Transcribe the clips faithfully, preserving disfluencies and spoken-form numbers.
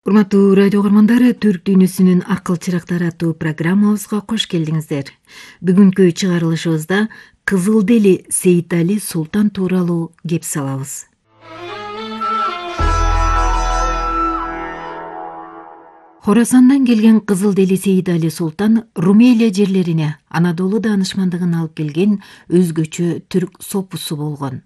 Урматтуу радио көрмөндөрү, Түрк дүйнөсүнүн акыл чырактары аттуу программабызга кош келдиңиздер. Бүгүнкү чыгарылышыбызда Кызылдели Сейитали Султан тууралуу кеп салабыз. Хорасандан келген Кызылдели Сейитали Султан Румелия жерлерине Анадолу даанышмандыгын алып келген өзгөчө түрк сопусу болгон.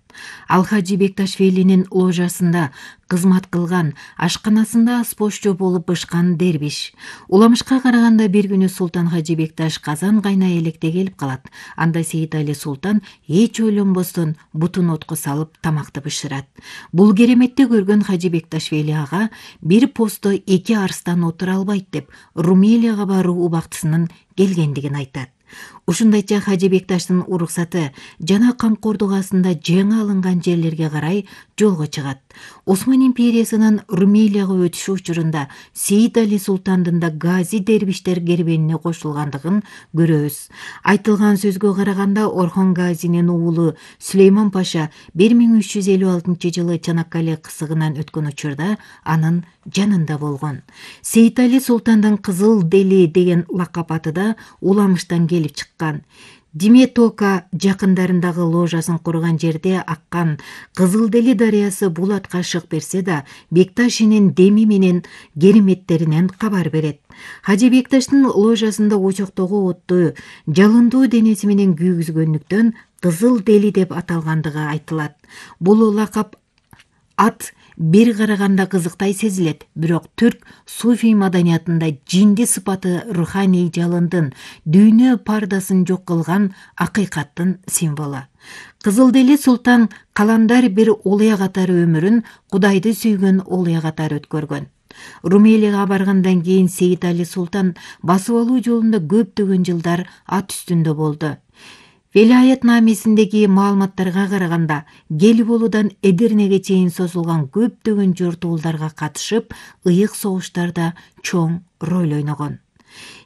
Ал Хажи Бекташвилинин ложасында кызмат кылган, ашканасында аспошчу болуп бышкан дербиш. Уламышка караганда бир күнү Султан Хажи Бекташ казан кайнай электе келип калат. Анда Сейитали Султан эч ойлонбостон бутун отко салып тамакты бышырат. Бул кереметти көргөн Хажи Бекташвили ага бир посто эки арстан отура албайт деп Румелияга баруу убактысынын келгендигин айтат. Ушундайча Хажи Бекташтын уруксаты жана камкордук астында жаңы алынган жерлерге карай жолго чыгат. Осман империясынын Румелияга өтүшү учурунда Сейитали Султандын да гази дербиштер кербенине кошулгандыгын көрөбүз. Айтылган сөзгө караганда Орхон Газинин уулу Сүлейман Паша бир миң үч жүз элүү алтынчы жылы Чанаккале кысыгынан өткөн учурда анын жанында болгон. Сейитали Султандын Кызылдели деген лакап аты да Уламыштан келип чыккан. Диметока жакындарындагы ложасын курган жерде аккан Кызылдели дарыясы бул атка шык берсе да, Бекташинин деми менен кереметтеринен кабар берет. Хажи Бекташтын ложасында очоктогу отту жалындуу денеси менен күйгүзгөндүктөн Кызылдели деп аталгандыгы айтылат. Бул лакап ат бир караганда кызыктай сезилет, бирок түрк суфий маданиятында жинди сыпаты руханий жалындын, дүйнө пардасын жок кылган акыйкаттын символу. Кызылдели Султан каламдар бир олуя катары өмүрүн Кудайды сүйгөн олуя катары өткөргөн. Румелияга баргандан кийин Сейитали Султан басып алуу жолунда көптөгөн жылдар ат үстүндө болду. Велаят намесиндеги маалыматтарга караганда, Гелиболудан Эдирнеге чейин созулган көптөгөн жортуулдарга катышып, ыйык согуштарда чоң роль ойногон.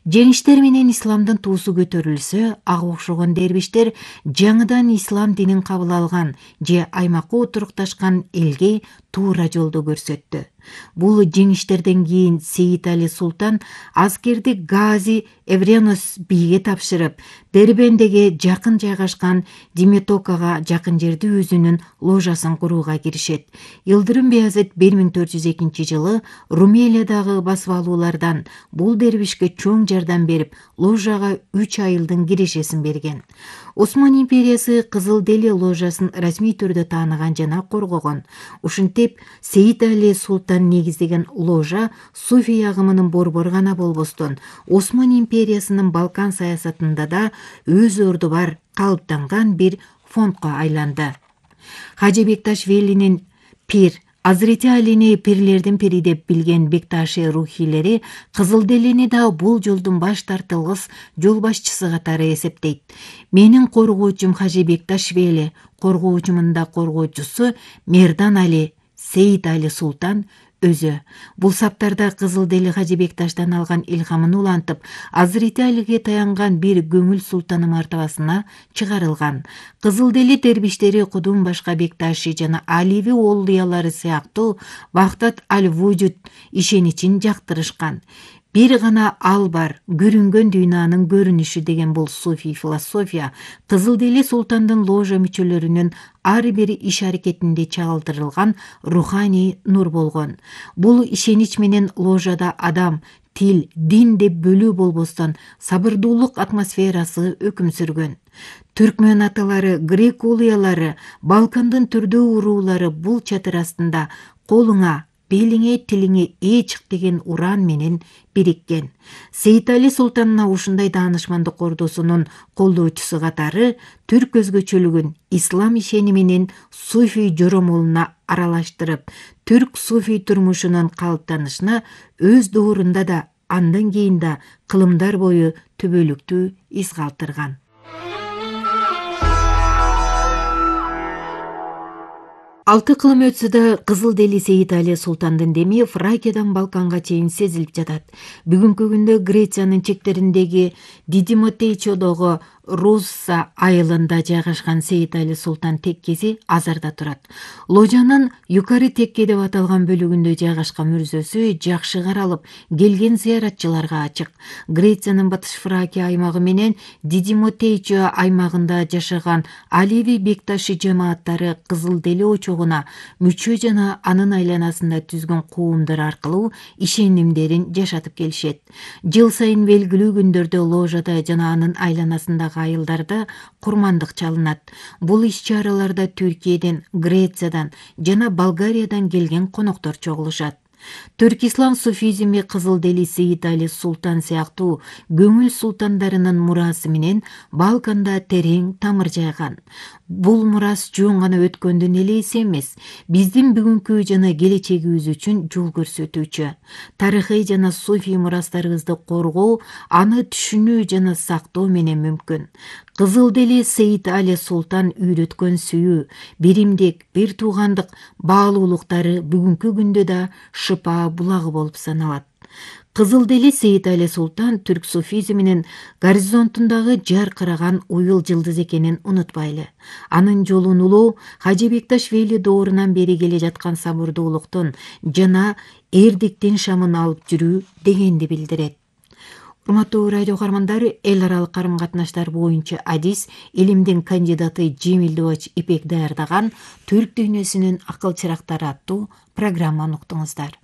Жеңиштер менен исламдын туусу көтөрүлсө, ага окшогон дербиштер жаңыдан ислам динин кабыл алган же аймакка отурукташкан элге туура жолду көрсөттү. Бул жеңиштерден кийин Сейитали Султан аскерди Гази Эвренос бийге тапшырып, Дербендеге жакын жайгашкан Диметокага жакын жерде өзүнүн ложасын курууга киришет. Йылдырым Беязет бир миң төрт жүз экинчи жылы Румелиядагы басып алуулардан бул дербишке чоң жардам берип, ложага үч айылдын кирешесин берген. Осман империясы Кызылдели ложасын расмий түрдө тааныган жана коргогон. Ушинтип, Сейитали Султан негиздеген ложа суфий агымынын борбору гана болбостон, Осман империясынын Балкан саясатында да өз орду бар калыптанган бир фондко айланды. Хажи Бекташвилинин пир Азырети Алини пирлердин пири деп билген Бекташи рухилери Кызылделини да бул жолдун баш тартылгыс жол башчысы катары эсептейт. Менин коргоочум Хажи Бекташвили, коргоочумун да коргоочусу Мердан Али, Сейитали Султан өзү. Бул саптарда Кызылдели Хажи Бекташтан алган илхамын улантып, Азырети Алиге таянган бир көңүл султаны мартабасына чыгарылган. Кызылдели дербиштери Кудум башка Бекташи жана Аливи олуялары сыяктуу Вахдат аль-Вужуд ишеничин жактырышкан. Бир гана ал бар, көрүнгөн дүйнөнүн көрүнүшү деген бул суфий философия Кызылдели Султандын ложа мүчөлөрүнүн ар бир иш-аракетинде чагылдырылган руханий нур болгон. Бул ишенич менен ложада адам, тил, дин деп бөлүү болбостон сабырдуулук атмосферасы өкүм сүргөн. Түркмөн аталары, грек улуялары, Балкандын түрдүү уруулары бул чатыр астында колуңа, белиңе, тилиңе ээ чык деген уран менен бириккен. Сейитали Султанына ушундай даанышмандык ордусунун колдоочусу катары түрк өзгөчөлүгүн ислам ишени менен суфий жоромолуна аралаштырып, түрк суфий турмушунун калыптанышына өз доорунда да, андан кийин да кылымдар бою түбөлүктүү из калтырган. Алты кылым өтсө да Кызылдели Сейитали Султандын деми Фракиядан Балканга чейин сезилип жатат. Бүгүнкү күндө Грециянын чектериндеги Дидимотейчодогу Русса айылында жайгашкан Сейит Али Султан теккеси Азарда турат. Ложанын юкары текке деп аталган бөлүгүндө жайгашкан мүрзөсү жакшы каралып, келген зыяратчыларга ачык. Грециянын Батыш Фракия аймагы менен Дидимотейчо аймагында жашаган Алеви бекташы жамааттары Кызыл Дели очогуна мүчө жана анын айланасында түзгөн коомдор аркылуу ишенимдерин жашатып келишет. Жыл сайын белгилүү күндөрдө ложада жана анын айланасындагы айылдарда курмандык чалынат. Бул иш-чараларда Түркияден, Грециядан жана Болгариядан келген коноктор чогулушат. Түрк ислам суфизми Кызыл Дели Сейит Али Султан сыяктуу көңүл султандарынын мурасы менен Балканда терең тамыр жайган. Бул мурас жөн гана өткөндүн элеси эмес, биздин бүгүнкү жана келечегибиз үчүн жол көрсөтүүчү. Тарыхый жана суфий мурастарыбызды коргоо, аны түшүнүү жана сактоо менен мүмкүн. Кызыл Дели Сейит Али Султан үйрөткөн сүйүү, биримдик, бир туугандык баалуулуктары бүгүнкү күндө да шыпа булагы болуп саналат. Кызыл Дели Сейит Али Султан түрк суфизминин горизонтундагы жаркыраган уюл жылдыз экенин унутпайлы. Анын жолун улуу Хажы Бекташ Вели доорунан бери келе жаткан сабырдуулуктун жана эрдиктин шамын алып жүрүү дегенди билдирет. Урматтуу радио каармандар, эл аралык карым катнаштар боюнча адис илимдин кандидаты Жемилдөөч Ипек даярдаган Түрк дүйнөсүнүн акыл чырактары аттуу программаны уктуңуздар.